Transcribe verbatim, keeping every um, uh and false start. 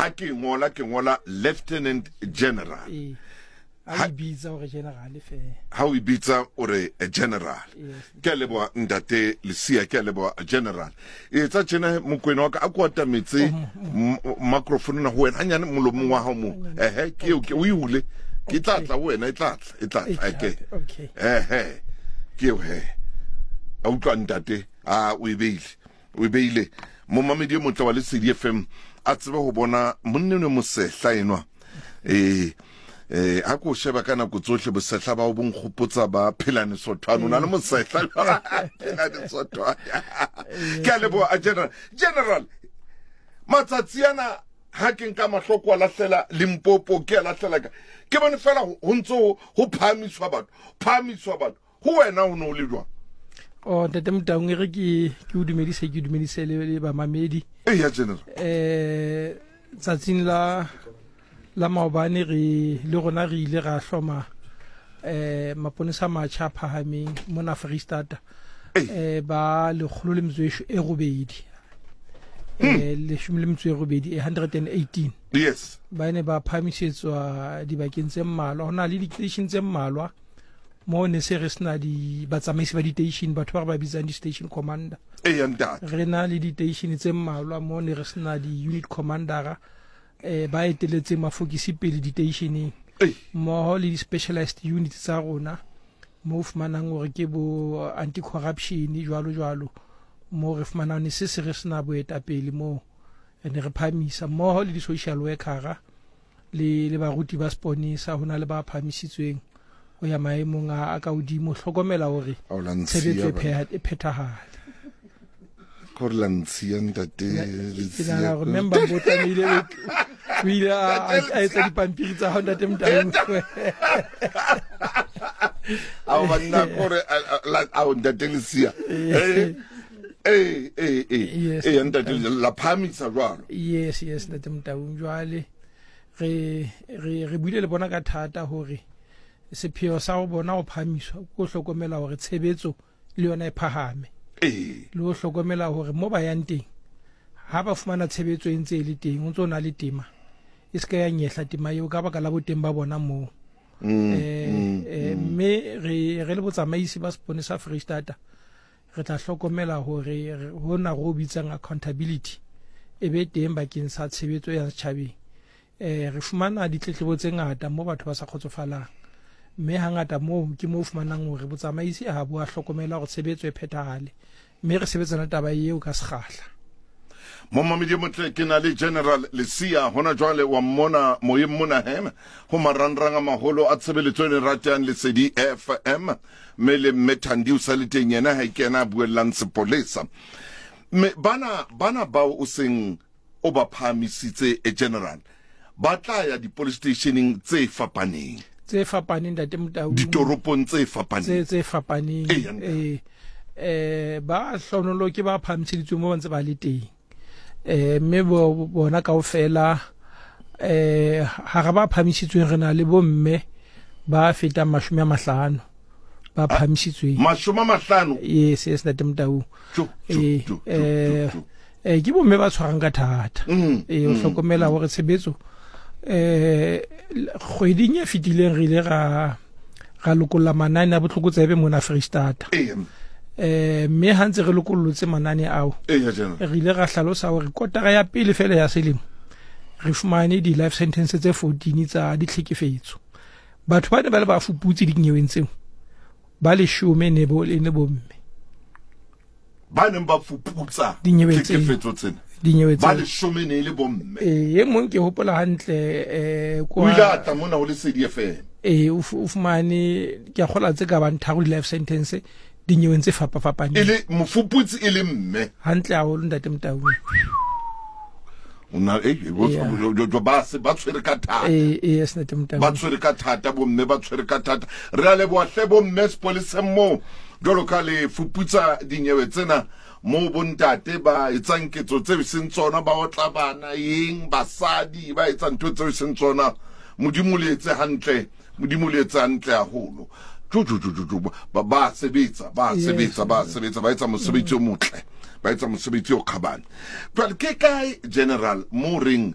Ha ke ngola ke ngola Lieutenant General. Ee, ha o bitsa hore general fela. Ha o bitsa o re general. Ke a leboha ntate Lesia, ke a leboha general. Etsa tjena Mokwena wa ka, a ko atametse microphone na ho wena hanyane molomong wa hao mo. Ehe, ke eo, ke o e hule. Ke tla tla ho wena, e tla tla, e tla tla. Okay. Okay. Ehe. Ke eo he. A utlwa ntate, a o e beile. O e beile. Momamedi e motle wa Lesedi F M a tsebe ho bona monna enwa mosehla enwa. Eh, eh, ha ko sheba ka nako tsohle bosehla ba o bo nkgopotsa ba Phelane Sothwane. O na le mosehla Phelane Sothwane. Ke a leboha general. General, matsatsi ana ha ke nka mahloko a lahlela Limpopo, ke a lahlela ka. Ke bone fela ho ntso ho phahamiswa batho, phahamiswa batho. Ho wena ho no le jwang? Oh, ntate Motaung, e re ke, ke o dumedise, ke dumedise le, le bamamedi. Eh, ya general. Eh, tsatsing la, la maobane re le rona re ile ra hloma, eh, maponesa a matjha a phahameng mona Freistata. Eh, ba lekgolo le metso e robedi. Eh, leshome le metso e robedi, hundred and eighteen. Yes. Ba ne ba phahamisetswa dibakeng tse mmalwa. Ho na le di-station tse mmalwa mo ne se re sena di batsamaisi ba di-station, batho ba re ba bitsang di-station commander. Eh, ya ntate. Re na le di-station tse mmalwa mo ne re sena di-unit commandera, eh, ba eteletseng mafokisi pele di-stationeng. Ei. Mmoho le di-specialized units tsa rona mo o fumanang hore ke bo anti-corruption jwalo jwalo, mo re fumanang ne se se re sena boetapele moo, ne re phahamisa mmoho le di-social workera le, le baruti ba seponesa. Ho na le ba phahamisitsweng ho ya maemong a, a ka hodimo, hlokomela hore Ao la ntshiya tshebetso e bana. pheha-, e phethahale. Gore la ntshiya ntate Ke Lesia. nahana hore member bo tlamehile o, o ile a, a, a etsa dipampiri tsa hao ntate Motaung. Ao banna, kore, a, a, la, ao ntate Lesia. Eh, eh, eh, eh. Yes. Eh, ntate, la phahamisa jwalo. Yes, yes, ntate Motaung. Jwale re, re, re buile le bona ka thata hore sepheo sa ho bona ho phahamiswa ke ho hlokomela hore tshebetso le yona e phahame. Eh. Le ho hlokomela hore mo ba yang teng ha ba fumana tshebetso e ntse e le teng, o ntso na le tema e se ka ya nyehla tema eo ka baka la boteng ba bona moo. Mm, Eh, mm, eh, mm. mme re, re le botsamaisi ba seponesa Freistata re tla hlokomela hore re, hona re o bitsang accountability e be teng bakeng sa tshebetso ya setjhabeng. Eh, re fumana ditletlebo tse ngata mo batho ba sa kgotsofalang, mme hangata moo ke moo fumanang hore botsamaisi ha bo a hlokomela hore tshebetso e phethahale, mme re sebetsana taba eo ka sekgahla. Momamedi motle, ke na le General Lesia hona jwale wa mmona moyeng mona he ho marangrang a maholo a tshebeletso e ratang Lesedi F M, mme le mme Thandi o sa le teng yena ha ke yena a buellang sepolesa. Mme bana, bana bao o seng o ba phahamisitse e general, ba tla ya di-police stationeng tse fapaneng. Tse fapaneng, ntate Motaung. Ditoropong tse fapaneng. Tse, tse fapaneng. Ee, ntate. Eh, eh, ba hlonolo ke ba phahamiseditsweng mo ba ntse ba le teng. Eh, mme bo-, bona kaofela, eh, hara ba phahamisitsweng re na le bomme ba fetang mashome a mahlano ba Ah, phahamisitsweng. Mashome a mahlano? Yes, yes, ntate Motaung. Jo, jo, Eh, jo, jo, eh, jo, jo. eh, ke bomme ba tshwarang ka thata. Mm, Eh, o mm, hlokomela mm. hore tshebetso, eh, kgweding e fetileng re ile ra, ra lokolla manane a botlokotsebe mona Freistata. Ee. Eh, mme ha ntse re lokollotse manane ao, Ee, ya general. re ile ra hlalosa hore kotara ya pele fela ya selemo re fumane di-life sentence tse fourteen tsa ditlhekefetso. Batho ba ne ba le ba fuputse dinyeweng tseo, ba leshome ne bo, e ne bomme. Ba neng ba fuputsa Dinyeweng tseo. tlhekefetso tsena. Dinyewe Ba tseo. leshome ne e le bomme. Eh, e mong ke hopola hantle, eh, kwa O ile a tla mona ho Lesedi F M. Eh, o fu-, o fumane, ke a kgolwa tse ka bang tharo di-life sentence dinyeweng tse fapafapaneng. E le mofuputsi e le mme. Hantle haholo ntate Motaung. O na, eh, eh, bo, Yeah. bo, bo, bo, ba se, ba tshwere ka thata. Eh, eh, yes, ntate Motaung. Ba tshwere ka thata bomme, ba tshwere ka thata. Re a leboha hle bomme sepoleseng moo. Jwalo ka le fuputsa dinyewe tsena moo bontate ba etsang ketso tseo e seng tsona, ba otla bana eng, basadi ba etsang ntho tseo e seng tsona. Modimo le etse hantle, Modimo le etse hantle haholo. Jo, jo, jo, jo, jo, ba, ba sebetsa, ba Yes. sebetsa, ba sebetsa, ba etsa mosebetsi o motle, ba etsa mosebetsi o kgabane. Jwale ke kae general mo reng